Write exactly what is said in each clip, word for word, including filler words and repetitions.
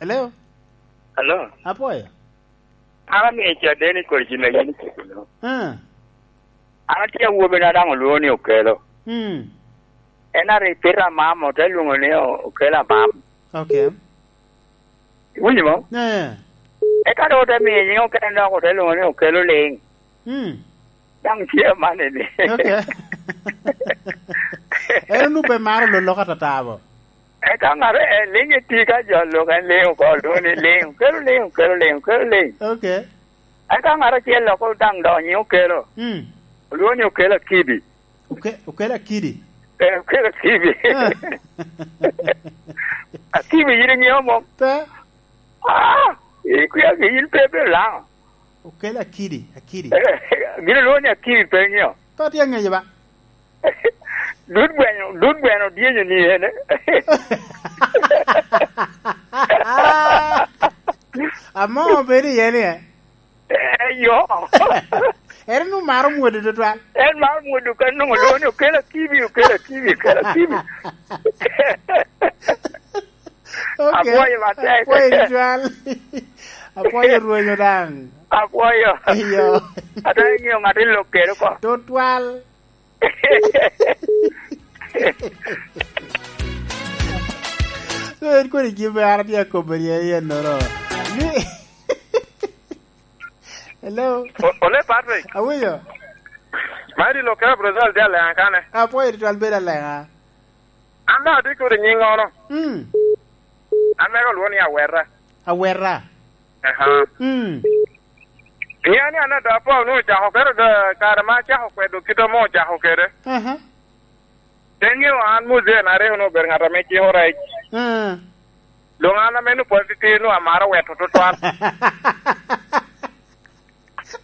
Hello? Hello? Apwoyo. An amiyo caden i kodi gin a yin ikelo. Ah. An atye awobina daŋ olwoŋo ni Okelo. Mm. En a repeat Amamo, te lwoŋo ni O-, Okelo Amamo. Okay. Iwinyo mo? Eh. Eka dok ote miyo nyiŋ okene dok ote lwoŋo ni Okelo Liŋ. Mm. Daŋ tye amanni ni. Okay. En onwoŋo pe maro lolok atata bo. Eka ŋat, eh, Liŋ eti ka jo lok en Liŋ oko, lwoŋo ni Liŋ, Okelo Liŋ, Okelo Liŋ, Okelo Liŋ. Okay. Eka ŋat acel lok daŋ donyo Okelo. Mm. Olwoŋo ni Okelo Akibi. Oke-, Okelo Akidi? Eh, Okelo Akibi. Eh. Akibi yin iŋeo mom? Pe. Ah, ikwia gi yin pe ibedo Laŋo. Okelo Akidi, Akidi. Eh, gin olwoŋo ni Akidi pe iŋeo. Pe atye aŋeyo ba. Dud gweno, dud gweno dyenyo ni ene. Amo bedo iye ni, eh? Eh, yo. En onwoŋo maro mwodo tutwal. En maro mwodo ka nwoŋo lwongo ni Okelo Akibi, Okelo Akibi, Okelo Akibi. Okay. Apwoyo matek. Apwoyo tutwal. Apwoyo rwenyo daŋ. Apwoyo. Iyo. Ata iŋeo ŋat i lok kede oko. Tutwal. So, en kodi gin me an atye akobo ni en ennoro. Ni, hello? O-, Ole Patrick. Awinyo. Mari lo kera Brazil de alenga kane. Apwoyo tutwal bedo alenga. An daŋ atye kodi nyiŋ ono. Mm. An mego olwoŋo ni Awera. Awera. Aha. Mm. Ŋeo ni an ado apol ni ocako kede do, kare ma acako kwedo kit ame ocako kede. Aha. Te ŋeo an muzee na rik onwoŋo obedo ŋat ame ciko rec. Ah. Doŋ an ame onwoŋo pwod titidi onwoŋo amaro weto tutwal.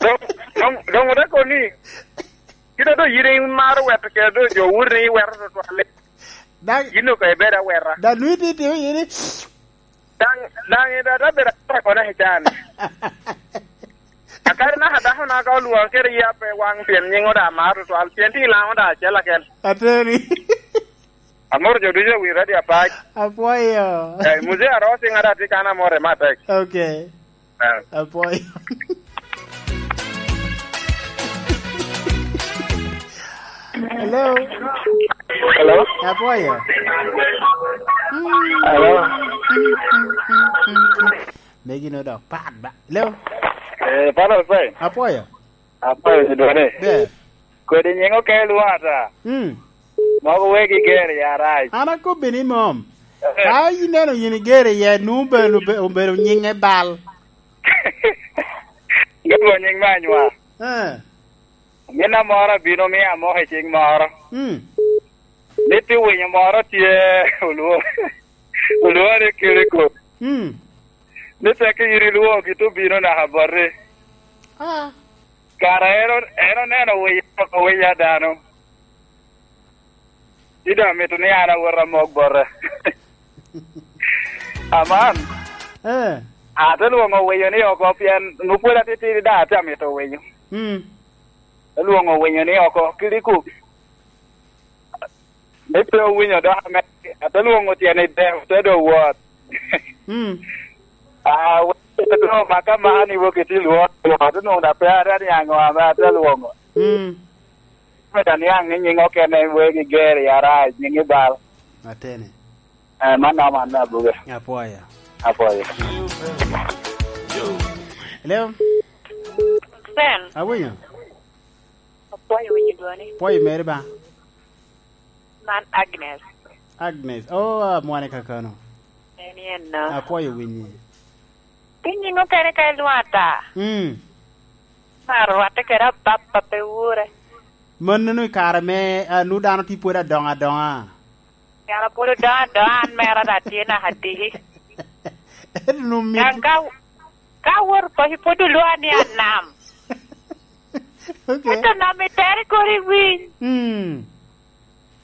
Doŋ, doŋ, doŋ ote kono ni, kit a doŋ yin imaro weto kede doŋ jo wuri ni iweto tutwal-li. Daŋ yin doŋ ka ibedo aweta. Daŋ nwoŋo itye itimo iye ni, daŋ, daŋ i dada bedo akwako naka i can. Akadi naka dako na ka olwoŋo kede ya pe waŋ pien nyiŋo daŋ amaro tutwal, pien tye i Laŋo daŋ acel akel. Ateni. Amoro jo ducu i wi radio apac. Apwoyo. Eh, Muzee Arosi ŋat atye kan amore matek. Okay. Eh. Apwoyo. Hello. Hello. Apwoyo. Hello. Megi no dok pat ba. Hello. Eh, Father Hussein. Apwoyo. Apwoyo, Cidwade. Ber. Kodi nyiŋ okelo lwata. Mm. Mogo wegi ger i arac. An akobbi ni mom. Eh. Ka ineno yin iger iye, nu obedo, obedo nyiŋe bal. Gabo nyiŋ me anywa. Eh. Min amoro abino mia amoko i cik moro. Mm. Ni pi winyo moro tye olwo-, olwore kede kop. Mm. Ni tekki iri lwoŋo gin obino naka bote. Ah. Kara en o-, en oneno wiye oko wiya dano. Ci doŋ amito ni an awot amok bote. Aman. Eh. Ate lwoŋo winyo ni oko pien nwoŋo pwod atitidi daŋ ate amito winyo. Mm. Te lwoŋo winyo ni oko kidi kop. Ni pe owinyo dok ame, ate lwoŋo tyene i dek, te doŋ wot. Mm. Ah, wek ite doŋ omaka man i wok iti lwot, lwot, onwoŋo daŋ pe ara niaŋ ame ate lwoŋo. Mm. Me da niaŋ ni nyiŋ okene wegi ger i arac, nyiŋ i bal. Atene. Eh, man noma an me abuge. Apwoyo. Apwoyo. Hello? Sen. Awinyo. Apwoyo winyo dwoni. Pwoyo meri ba. Man Agnes. Agnes. Oh, amwane kakano. En yen no. Apwoyo winyi. Pi nyiŋ okene ka ilwata. Mm. Mar rwatte kede ababa pe wure. Mano i kare me, ah, nu dano tye pwod adoŋo adoŋa. Yara pwod odoŋo adoŋa, an mera daŋ tye naka diki. Ento nu mit- Daŋ ka, ka awot paco pwod olwoŋa ni anam. Okay. Ento nam i tere kodi iwiny. Mm.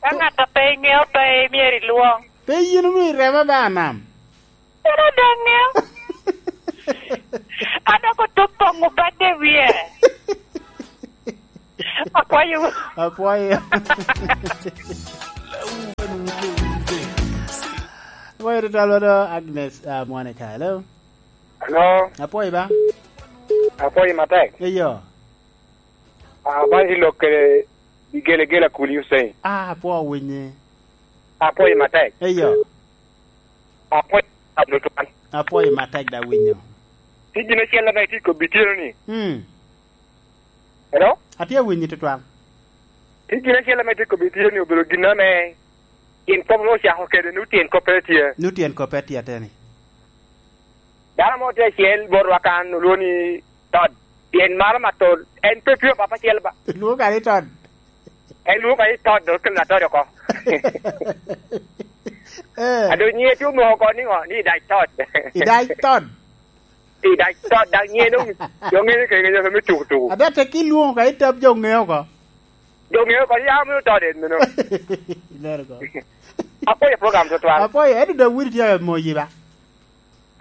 Ka ŋat a pe iŋeo pe imyero ilwoŋ. Pe yin omio irema ba anam. Ero daŋ ŋeo. An dok otup poŋo badde wie. Apwoyo. Apwoyo. Apwoyo tutwal wano Agnes, ah, Monica. Hello? Hello? Apwoyo ba? Apwoyo matek. Eyo. Ah, ba i lok kede i gelegela kuli Hussein. Ah, apwoyo winyi. Apwoyo matek. Eyo. Apwoyo tutwal. Apwoyo matek da winyo. Tye gin acel ame itye kobbi tyeno ni. Mm. Hello? Atye winyi tutwal. Tye gin acel ame itye kobbi tyeno ni obedo gin ame tyen kop ame ocako kede ni tyen kop pe tye. Ni tyen kop pe tye ateni. Dano mo tye acel botwa kan olwongo ni Tod. Pien maro matol, en pe tye papa acel ba. Lwongo kadi Tod. En lwongo kadi Tod, dok kelo na Tod oko. Eh. Ado nyiŋe tye omoko oko niŋo? Ni Idac Tod. Idac Tod. Idac Tod, dak nyiŋe dong, jo ŋeyo kede ngeyo me tuku tuku. Ada tek ilwongo kadi Tod jo ŋeyo oko. Jo ŋeyo oko, ya mio Tod en meno. Ilero oko. Apwoyo program tutwal. Apwoyo, ento Dawidi tye amoyi ba?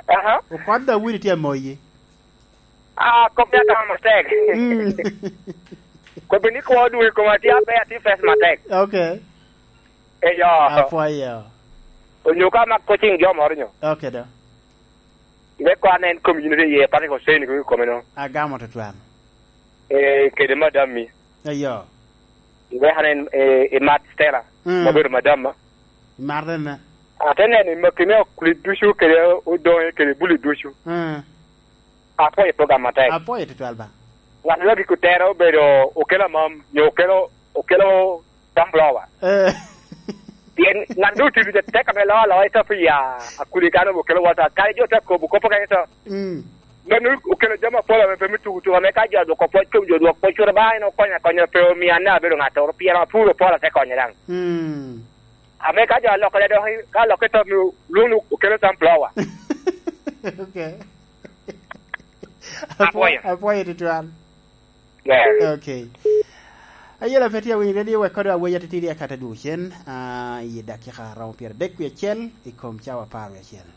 Aha. Okon Dawidi tye amoyi. Ah, kop ya tamo matek. Mm. Kobbi ni kwo dwe koma tye ape ati fes matek. Okay. Eyo. Apwoyo. Onyo ka mak coaching jo moro nyo. Okay, do. Me kwan en community ye pati ko seni ko kome no. Agamo tutwal. Eh, kede madam mi. Eyo. Iweka ni, eh, imat Stella, mm, ma obedo madam ma. Imat ene? Ate neno i makine okuli ducu kede odonge kede buli ducu. Mm. Apwoyo program matek. Apwoyo tutwal ba. Ngat ma gik otera obedo okelo amam, nyo okelo, okelo sunflower. Eh. Pien ngat dong otiyo ducu tek ame loo aloa i top ya akuli kan okelo wota. Kare jo te kobo kop okene to. Mm. Mano okelo jami apol ame pe me tuku tuku, ame ka jo odwoko pwoc kom jo odwok pwoc, cwero ba en okonya akonya, pe omio an daŋ abedo ŋattoro, pien apuro pol ate konye daŋ. Mm. Ame ka jo alokkere dok, ka alokke to, mio lwong ni okelo sunflower. Okay. Apwoyo. Apwoyo tutwal. Yeah. Okay. Ayela pe tye awinyo radio, wek kodo aweya titidi akata dwogo cen, ah, i dakika aromo pyeradek wie acel i kom cawa apar wie acel.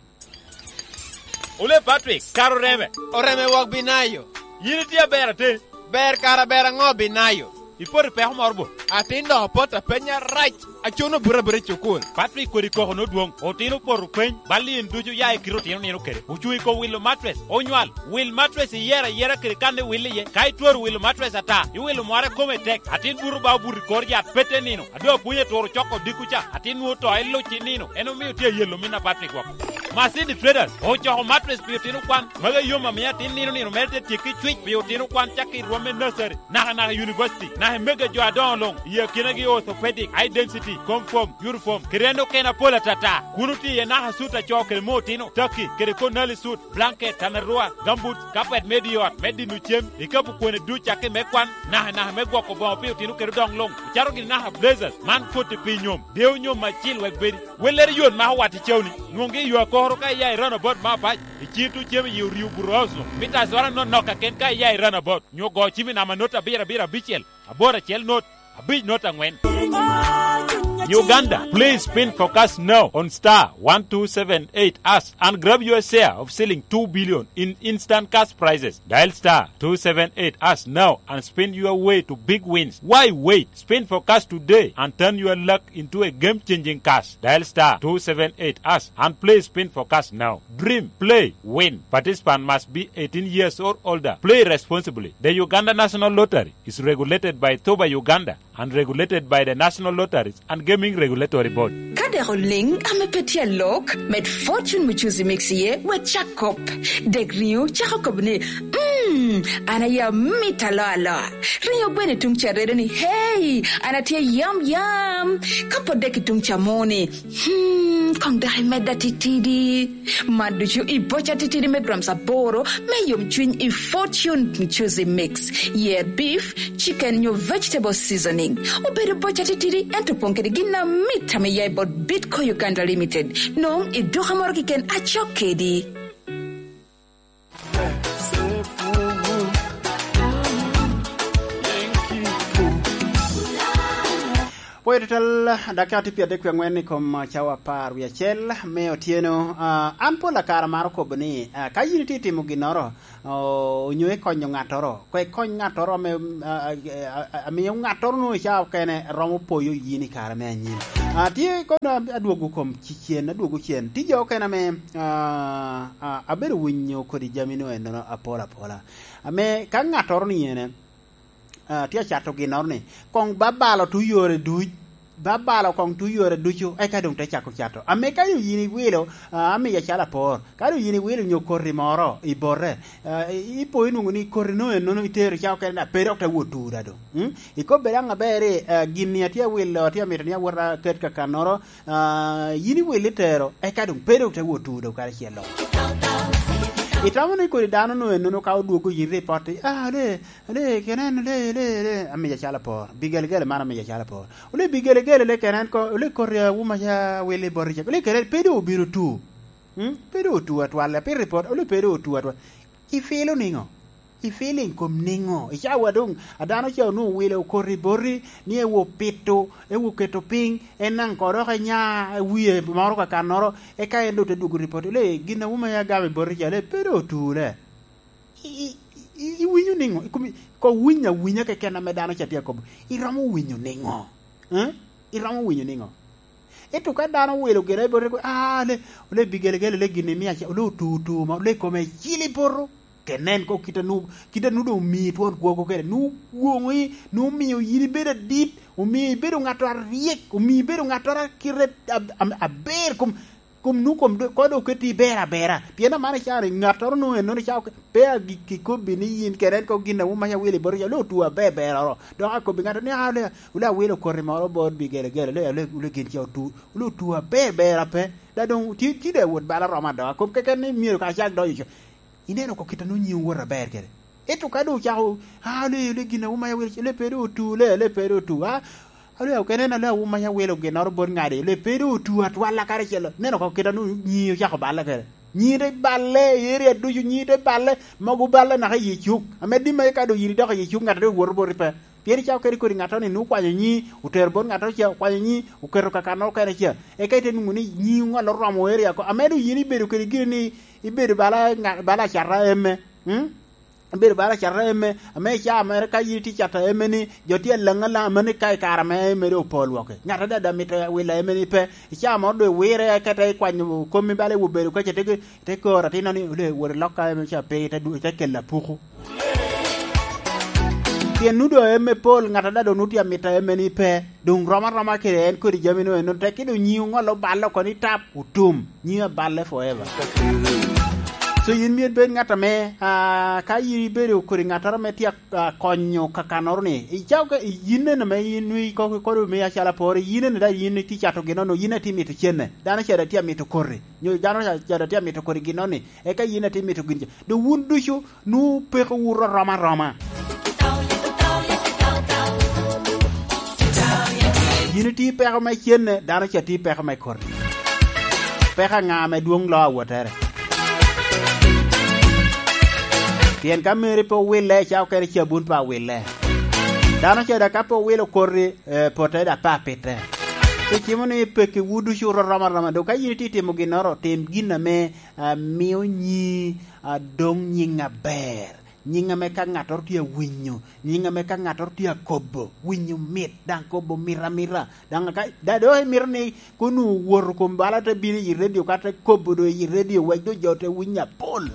Ole Patrick, kara oreme. Oreme wok Binayo. Yin itye aber ate? Ber kara ber aŋo Binayo? Ipoto i peko moro bo? Atin dok apoto apenya rac. Acuno buto abuta i cukul. Patrick kodi koko nodwoŋ. Otino opoto peny, bal i en ducu oya i kite otino nino kede. Ocuŋ i kom wilo matres, onywal. Wil matres iyero ayera kede kan iwil iye. Ka itwero wilo matres ata, iwilo mwara kome tek. Atin buto ba obuto i kor yat pete nino. A doŋ apwony aturo coko odiko ca, atin nwoŋo to iluc i nino. En omio tye ayelo min a Patrick woko. Masidi Traders ocoko matres pi otino kwan. Magi ayom amiyo atin nino nino mere te tyekki cwic pi otino kwan cakki i rwom me nursery, naka naka i university, naka i mege jo adoŋo luŋ, i akinagi orthopedic, high density, comfort, uniform, kede en okene apol atata. Kun otye iye naka sut a co kede mo otino, taki, kede konali sut, blanket, tanarua, gambut, kapet me di ot, me dino cem, ikapu kwene duc cakki me kwan, naka naka me gwoko boŋo pi otino kede odoŋ luŋ, ocato gini naka blazers, man koti pi nyom, dewo nyom acil wek bedi. Wellere yot mako wat i cawni, nwoŋgi i yo akokoro ka iya i roundabout me apac, i cito cem i orio burousno, mita azwara nonok kaken ka iya i roundabout, nyo go cimi namba not abiro abiro abicel, aboro acel not, abic not aŋwen. Uganda, please spin for cash now on star one two seven eight hash and grab your share of ceiling two billion in instant cash prizes. Dial star two seven eight hash now and spin your way to big wins. Why wait? Spin for cash today and turn your luck into a game-changing cash. Dial star two seven eight hash and play spin for cash now. Dream, play, win. Participant must be eighteen years or older. Play responsibly. The Uganda National Lottery is regulated by Thuba Uganda and regulated by the National Lotteries and Gaming Regulatory Board. Ka dek oliŋ ame pe tye alok, med Fortune Muchuzi Mix iye, wek cak kop. Dek riŋo cako kop ni, "Mm, an aye amito aloa aloa." Riŋo gweno i tuŋ ca redo ni, "Hey, an atye yam yam." Ka pwod dek i tuŋ ca mo ni, "Hmm, koŋ dok imedda titidi." Man ducu i boca titidi me grams aboro me yomcwiny i Fortune Muchuzi Mix. Yer beef, chicken nyo vegetable seasoning. Obedo boca titidi, ento opoŋ kede gin amit ame ya i bot Bitco Uganda Limited. Nwoŋo i duka moro keken acok kedi. Pwoyo tutwal, dakika tye pyeradek wie aŋwen i kom cawa apar wie acel me otyeno. Ah, an pol akare amaro kobo ni, ah, ka yin itye itimo ginnoro, oh, onyo ikonyo ŋattoro, koŋ ikony ŋattoro ame, ah, ah, ah, amiyo ŋattoro nwoŋo i cawa okene romo poyo yin i kare me anyim. Ah, tye kono adwogo kom ci-, cen, adwogo cen. Tye jo okene ame, ah, ah, abedo winyo kodi jami nwoŋo ennono apol apola. Ame ka ŋattoro ni ene, ah, tye acato ginnoro ni, koŋ babalo tu yore duc, babalo koŋ tu yore ducu, eka doŋ te cako cato. Ame ka doŋ yin iwilo, ah, amiya calo apor, ka doŋ yin iwilo nyo koti moro i bote, ah, i-, ipo inwoŋo ni koti no ennono itero ca okene, da pe dok te wot tur da doŋ. Mm? Ikobbe daŋ aber ni, ah, gin-ni atye awilo, atye amito ni awot aket kakannoro, ah, yin iwil itero, eka doŋ pe doŋ te wot tur doŋ karacel lo. Itamo ni kodi dano no ennono ka odwogo yin ripot ni, ah, le, le, kenen, le, le, le, amiya calo apor. Bigelegele man amiya calo apor. Ole bigelegele le kenen ko, ole koti awuma ca wili boti ca. Ole kenen pe doŋ obino tu. Hmm? Pe doŋ otu atwal, pe ripot, ole pe doŋ otu atwal. Ifilo niŋo? Ifeeling kom niŋo? I cawa doŋ, a dano ca onwoŋo wile okoti boti, ni ewo pito, ewo keto piny, en naŋ ko dok enya wie moro kakannoro, eka en doŋ te dwogo ripot, le, gin a wuma ya gamo i boti ca, le, pe doŋ otu, le. I, i, i, iwinyo niŋo? I kom, ko winyo awinya keken ame dano ca tye akobo, iromo winyo niŋo? Eh? Iromo winyo niŋo? Ento ka dano owilo gire i bote, "Ah, le, le bigelegele, le gin imio aca, le otu, otu, ma, le kome icil i poto." Kenen ko kit a nu-, kit a nu doŋ omii twon kwogo kede, nu gwoŋi, nu omio yin ibedo adit, omio ibedo ŋattoro aryek, omio ibedo ŋattoro a kite ab-, am-, aber, kom, kom nu kom do-, ko doŋ oketi aber abera. Pien aman icano, ŋattoro nu ennono icako ke-, pe agikki kobbi ni yin kenen ko gin a wun maca wilo i bote ca, le otu aber beroro. Dok akobbi ŋattoro ni, "Ah, le, le awilo koti moro bot bigelegele, le, le, le gin ca otu." Onwoŋo otu aber ber ape, da doŋ tye, tye daŋ wot bal aromo adoŋo. Kom keken ni myero ka acak donyo co. Ineno oko kit a nwoŋo nyiŋ owoto aber kede. Ento ka doŋ ocako, "Ah, le, le gin a wun maca wilo, le pe doŋ otu, le, le pe doŋ otu, ah, le okene na le a wun maca wilo ginnoro bot ŋadi, le pe doŋ otu atwal akare acel." Ineno oko kit a nwoŋo nyiŋi ocako balle kede. Nyiŋi te balle, i area ducu nyiŋi te balle, mogo balle naka i cuk. Ame dimma ka doŋ yin idoko i cuk, ŋat a doŋ woto boti pe. Pien icako kede kodi ŋattoro ni nwoŋo okwanyo nyiŋi, otero bot ŋattoro ca, okwanyo nyiŋi, oketo kakannoro okene ca. Eka ite nwoŋo ni nyiŋi oŋolo romo area oko. Ame doŋ yin ibedo kede giri ni ibedo bala ŋa-, bala acata eme. Mm? Ibedo bala acata eme, ame i caa mere ka yin itye cato eme ni, jo tye alaŋ alaŋ, mano i ka i kare ame eme doŋ opo lwoki. Ŋat a daŋ daŋ mito wilo eme ni pe. I caa moro doŋ iwire, eka ite ikwanyo komi bala iwobedo kaca, ite, ite koro atinno ni, "Ole, wot ilok ka eme ca pe, ite du-, ite kelo apuku." Pien nu doŋ eme pol, ŋat a daŋ doŋ nu tye amito eme ni pe, doŋ rom aroma kede en kodi jami nu eno, tek ki doŋ nyiŋi oŋolo balle oko ni tap, otum, nyiŋi aballe forever. So yin myero ibed ŋat ame, ah, ka yin ibedo kodi ŋattoro ame tye, ah, konyo kakannoro ni, icako ka, yin en ame yin nwoŋo ikoki kodi omiyo acalo apor, yin en daŋ yin itye cato ginnoro, yin itye mito cenne, dano ca daŋ tye amito koti, nyo dano ca, ca daŋ tye amito kodi ginnoro ni, eka yin itye mito gin ca. Doŋ wun ducu nwoŋo peko wu rom aroma. Yin itye peko me cenne, dano ca tye peko me koti. Peko aŋa ame dwoŋ loo awottere? Pien ka meri pe owille, ca okene cabun pe awille. Dano ca daŋ ka pe owilo koti, eh, pote daŋ pe apitte. Icimo ni pekki wu ducu rom aroma. Doŋ ka yin itye itimo ginnoro, tim gin ame, ah, mio nyiŋi, ah, doŋ nyiŋ aber. Nyiŋ ame ka ŋattoro tye awinyo, nyiŋ ame ka ŋattoro tye akobo, winyo mit, daŋ kobo mit amita. Daŋ ka, da-, doŋ imito ni kono owoto kom bala te bino i redio, ka te kobo doŋ i redio, wek doŋ jo te winyo apol.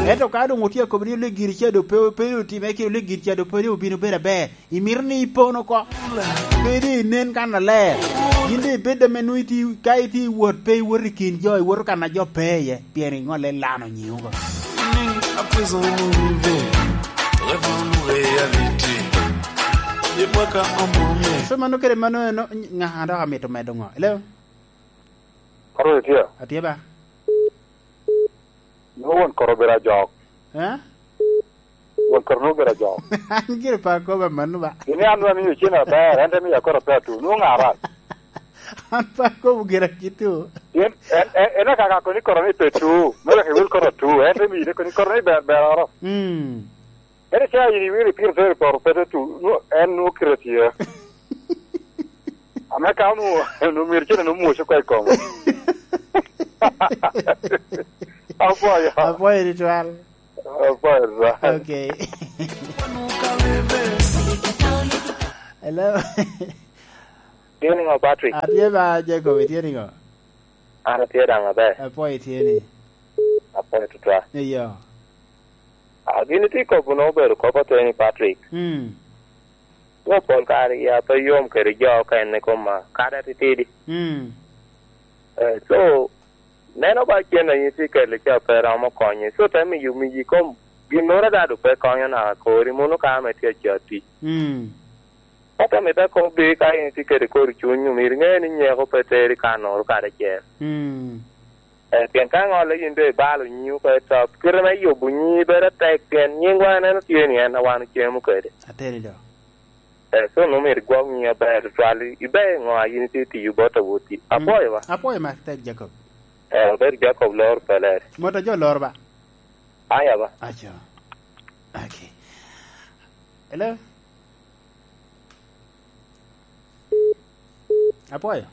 Ento ka doŋ otye akobo ni ole giri ca doŋ pe, pe otime, ki ole giri ca doŋ pe obino bedo aber, imito ni ipon oko. Pe doŋ inen kannaler. Yin doŋ ibed ame nwoŋo itye, ka itye i wot, pe iwoto i kin jo, iwoto kan a jo pe iye, pien iŋolle lano nyiŋ oko. Ni a prison movie, level reality. Ye baka omume. So mano kede mano eno, ŋa dok amito medo ŋo? Hello? Koro itye? Atye ba. Nwoŋo won koro obedo ajok. Eh? Won koro nwoŋo obedo ajok. An gire pe akobo amanno ba. Gin ni an nwoŋo amiyo cen aber, en te miyo akot ape atu. Nwoŋo ŋa arac? An pe akobo gire akitto. Pien en, en, en akaka koni koro ni pe tu. Me wek iwil koro atu. En te miyo ni koni koro ni ber, beroro. Mm. En icaa yin iwiro ipiro tere poro pe te tu. Nwoŋo, en nwoŋo kite tye. Apwoyo. Apwoyo tutwal. Apwoyo tutwal. Okay. Hello. Tye niŋo, Patrick? Atye ba, Jacob, itye niŋo? An atye daŋ aber. Apwoyo itye ni? Apwoyo tutwal. Eyo. Ah, gin itye kobo na obedo kop ateni, Patrick. Mm. Wo pol kare ya pe yom kede jo okene koma, kadi atitidi. Mm. Eh, so, neno ba cen a in itye kede ca pe romo konye. So, te miyo miji kom ginnoro dado pe konyo naka kori, mono ka ame tye aca tic. Mm. Ento mito akobbi, ka in itye kede kor cuny, myero iŋe ni nyeko pe teri kannoro kadi acel. Mm. Eh, pien ka ŋolle yin doŋ ibalo nyiŋi oko i top, kite me yubo nyiŋi bedo atek, pien nyiŋwa en, en otye ni en a wan ocemo kede. Ateni do. Eh, so nwoŋo myero igwok nyiŋi aber tutwal, ibe ŋo a yin itye tiyo bot awoti. Mm. Apwoyo ba? Apwoyo matek, Jacob. Eh, obedo Jacob Lor Peler. Mot a jo Lor ba? Aya ba? Aco. Okay. Hello? Apwoyo.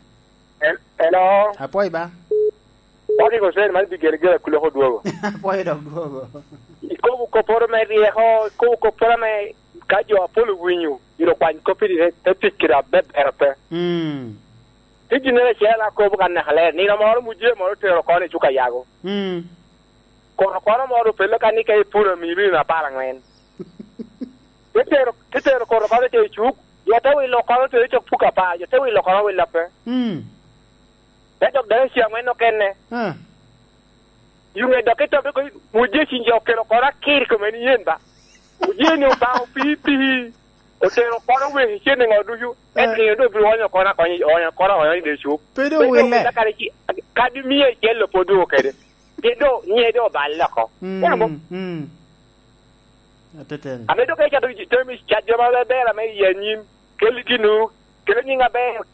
Hel-, hello? Apwoyo ba? Patrick Hussein, man pi gelegele a Kulok odwogo. Apwoyo dok dwogo. Ikobo kopporo me ryeko, ikobo kopporo ame ka jo apol owinyo, myero okwany koppi ni te, te tic kede abeber pe. Mm. Tye ginnoro acel akobo kan naka ler. Nino moro mujee moro otero kono i cuk Ayago. Mm. Kono kono moro opelle kan ni ka ipuro amiro nino apar aŋwen. Te tero, te tero kono kono te i cuk, jo te wilo kono te i cuk puka pa, jo te wilo kono wilo pe. Mm. Te dok dano ci aŋwen okene. Ah. Yuŋe dok i tobe ko, mujee cin jo okelo kono akir kome ni yen ba. Mujee ni Obaŋa opii pii. Otero kono wek i cen i ŋo ducu. Eh. Ento nino doŋ bino onyo kono akonyo, onyo kono onyo i dye cuk. Pe doŋ wille. Kadi ci, kadi mia acel lo pwod dwogo kede. Pien doŋ nyiŋe doŋ oballe oko. Mm, mm. Ateteni. Ame doŋ ka icako temi cat jo ma ber ame i anyim, kel ginu, kel nyiŋ aber,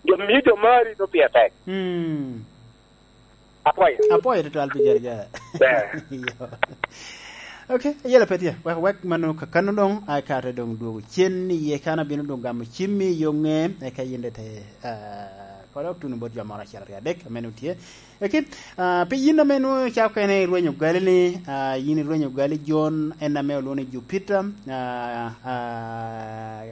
jo mio jo mari, no pire tek. Mm. Apwoyo. Apwoyo tutwal pi gere gere. Ber. Iyo. Ok, ayela pe tye. Wek, wek mano kakano doŋ, ai kare doŋ dwogo cen iye kan abino doŋ gamo cimmi i yo ŋe, eka yin de te, ah, kodo tuno bot jo moro acel aryo adek, ame nwoŋo tye. Eki, ah, pi yin ame nwoŋo icako kene irwenyo gali ni, ah, yin irwenyo gali Jon, en ame olwoŋo ni Jupiter, ah, ah,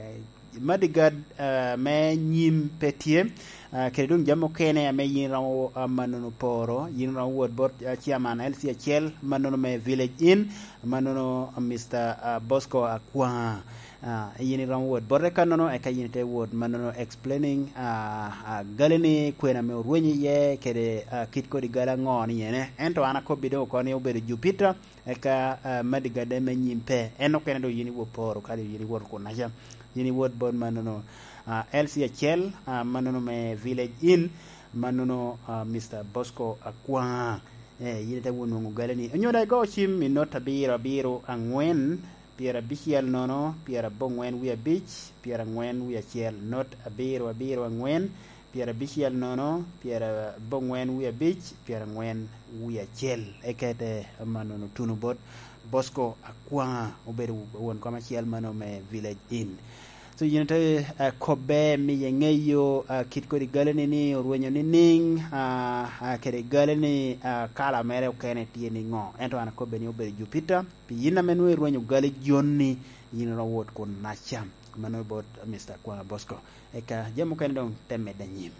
Madigad, ah, me nyim pe tye, ah, kede doŋ jami okene ame yin iromo, ah, mannono poro, yin iromo wot bot, ah, chairman L C acel, mannono me Village Inn, mannono, ah, Mister, ah, Bosco Akwaŋa. Ah, yin iromo wot bote kannono, eka yin ite wot mannono explaining, ah, ah, gali ni kwena ame orwenyo iye, kede, ah, kit kodi gali aŋo ni ene. Ento an akobbi doŋ oko ni obedo Jupiter, eka, ah, Madigade me nyim pe. En okene doŋ yin iwot poro, kadi yin iwot kunaca. Yin iwot bot mannono, ah, L C acel, ah, mannono me Village Inn, mannono, ah, Mister Bosco Akwaŋa. Eh, yin ite wot nwoŋo gali ni. Onyo daŋ igo cim i not abiro abiro aŋwen, pyerabicel nono, pyeraboŋwen wie abic, pyeraŋwen wie acel, not abiro abiro aŋwen, pyerabicel nono, pyeraboŋwen wie abic, pyeraŋwen wie acel. Ekete mannono tuno bot Bosco Akwaŋa, obedo won kom acel mano me Village Inn. So, yin te, eh, kobbe, miye ŋeyo, ah, kit kodi gali ni, ni orwenyo niŋ, ah, ah, kede gali ni, ah, kala mere okene tye niŋo. Ento an akobbe ni obedo Jupiter. Pi yin ame nwoŋo irwenyo gali Jon ni, yin iromo wot kunaca. Mano bot Mister Akwaŋa Bosco. Eka jami mukene doŋ te medde anyim.